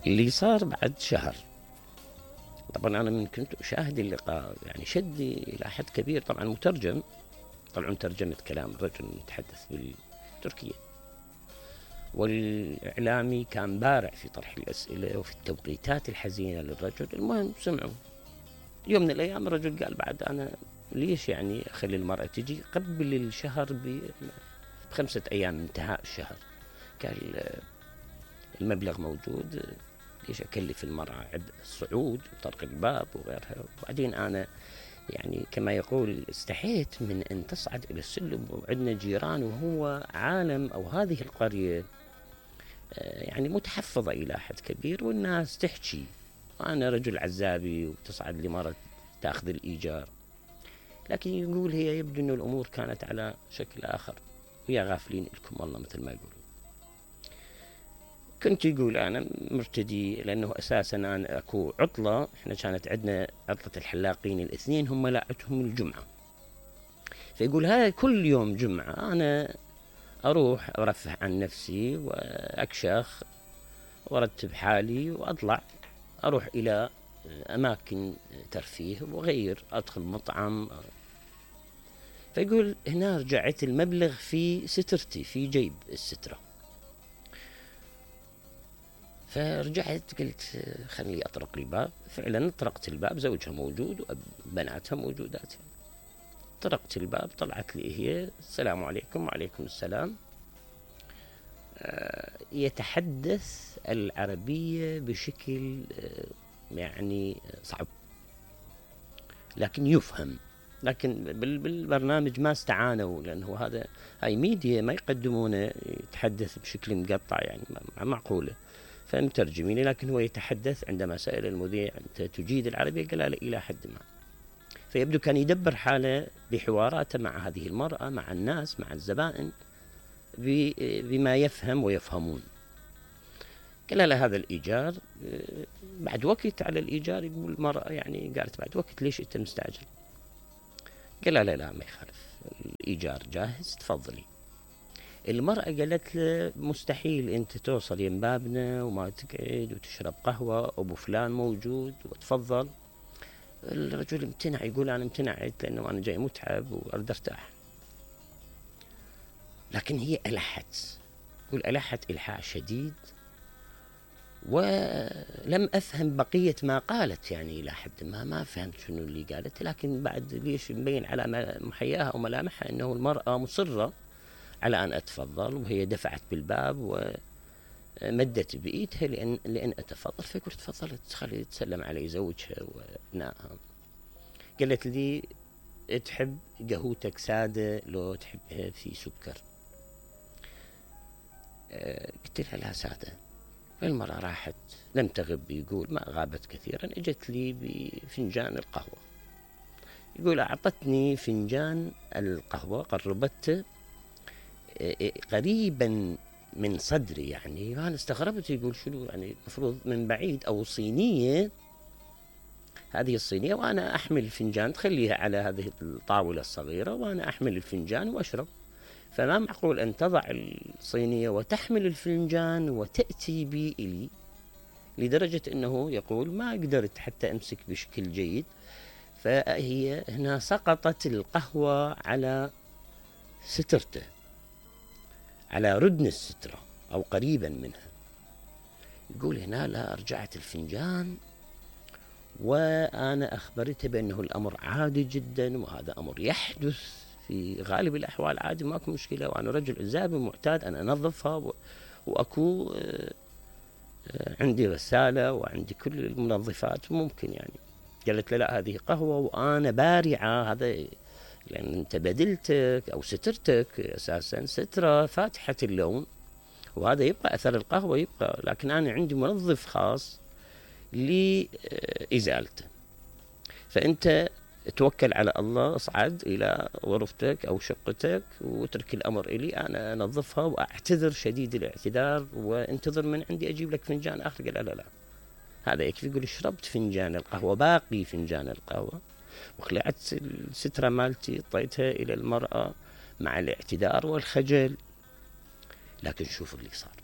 اللي صار بعد شهر، طبعا أنا من كنت أشاهد اللقاء يعني شدني إلى حد كبير. طبعا مترجم، طبعا ترجمة كلام الرجل المتحدث بالتركية، والإعلامي كان بارع في طرح الأسئلة وفي التوقيتات الحزينة للرجل. المهم سمعوا. يوم من الأيام الرجل قال بعد أنا ليش يعني أخلي المرأة تجي قبل الشهر ب5 أيام انتهاء الشهر؟ قال المبلغ موجود، ليش أكلف المرأة الصعود وطرق الباب وغيرها؟ وبعدين أنا يعني كما يقول استحيت من أن تصعد إلى السلم وعندنا جيران، وهو عالم أو هذه القرية يعني متحفظة إلى حد كبير والناس تحكي، وأنا رجل عزابي وتصعد لي مرة تأخذ الإيجار. لكن يقول هي يبدو أن الأمور كانت على شكل آخر، ويا غافلين لكم الله مثل ما يقولون. كنت يقول أنا مرتدي، لأنه أساسا أنا أكو عطلة، إحنا كانت عندنا عطلة الحلاقين الاثنين، هم لاعتهم الجمعة. فيقول هاي كل يوم جمعة أنا أروح أرفه عن نفسي وأكشخ وأرتب حالي وأطلع أروح إلى أماكن ترفيه وغير، أدخل مطعم. فيقول هنا رجعت المبلغ في سترتي في جيب السترة. فرجعت قلت خلي أطرق الباب. فعلا طرقت الباب، زوجها موجود وبناتها موجودات. طرقت الباب، طلعت لي هي السلام عليكم. وعليكم السلام. يتحدث العربية بشكل يعني صعب لكن يفهم. لكن بالبرنامج ما استعانوا، لأنه هاي ميديا ما يقدمونه يتحدث بشكل مقطع يعني معقولة، فمترجمين. لكن هو يتحدث. عندما سأل المذيع أنت تجيد العربية؟ قال لا إلى حد ما. فيبدو كان يدبر حاله بحواراته مع هذه المرأة، مع الناس، مع الزبائن، بما يفهم ويفهمون. قال له هذا الإيجار بعد وقت على الإيجار. يقول المرأة يعني قالت بعد وقت ليش أنت مستعجل؟ قال لا ما يخالف، الإيجار جاهز تفضلي. المرأة قالت له مستحيل أنت توصل يم بابنا وما تقعد وتشرب قهوة، أبو فلان موجود وتفضل. الرجل امتنع، يقول أنا امتنعت لأنه أنا جاي متعب وأريد أرتاح. لكن هي ألحت، يقول ألحت إلحاح شديد، ولم أفهم بقية ما قالت يعني إلى حد ما فهمت شنو اللي قالت. لكن بعد ليش مبين على محياها وملامحها أنه المرأة مصرة على أن أتفضل، وهي دفعت بالباب ومدت بإيدها لأن أتفضل. فقلت تفضلت، خلي تسلم علي زوجها وابنائها. قالت لي تحب قهوتك سادة لو تحبها في سكر؟ قلت لها لا سادة. فالمرأة راحت لم تغب، يقول ما غابت كثيرا، اجت لي بفنجان القهوة. يقول أعطتني فنجان القهوة، قربته قريبا من صدري يعني. أنا استغربت، يقول شنو يعني المفروض من بعيد أو صينية، هذه الصينية وأنا أحمل الفنجان، تخليها على هذه الطاولة الصغيرة وأنا أحمل الفنجان وأشرب. فما معقول أن تضع الصينية وتحمل الفنجان وتأتي بي إلي، لدرجة أنه يقول ما قدرت حتى أمسك بشكل جيد. فهي هنا سقطت القهوة على سترته، على ردن السترة أو قريبا منها. يقول هنا لا رجعت الفنجان وأنا أخبرته بأنه الأمر عادي جدا، وهذا أمر يحدث في غالب الأحوال عادي، ماكو مشكلة، وأنا رجل عزابي معتاد أن أنظفها، وأكو عندي غسالة وعندي كل المنظفات ممكن يعني. قالت له لا هذه قهوة وأنا بارعة، هذا لأن أنت بدلتك أو سترتك أساسا سترة فاتحة اللون، وهذا يبقى أثر القهوة يبقى، لكن أنا عندي منظف خاص لإزالته. فأنت توكل على الله، اصعد إلى غرفتك أو شقتك واترك الأمر إلي، أنا أنظفها وأعتذر شديد الاعتذار، وانتظر من عندي أجيب لك فنجان آخر. قال لا هذا يكفي. يقول شربت فنجان القهوة، باقي فنجان القهوة، وخلعت السترة مالتي طيتها إلى المرأة مع الاعتذار والخجل. لكن شوف اللي صار.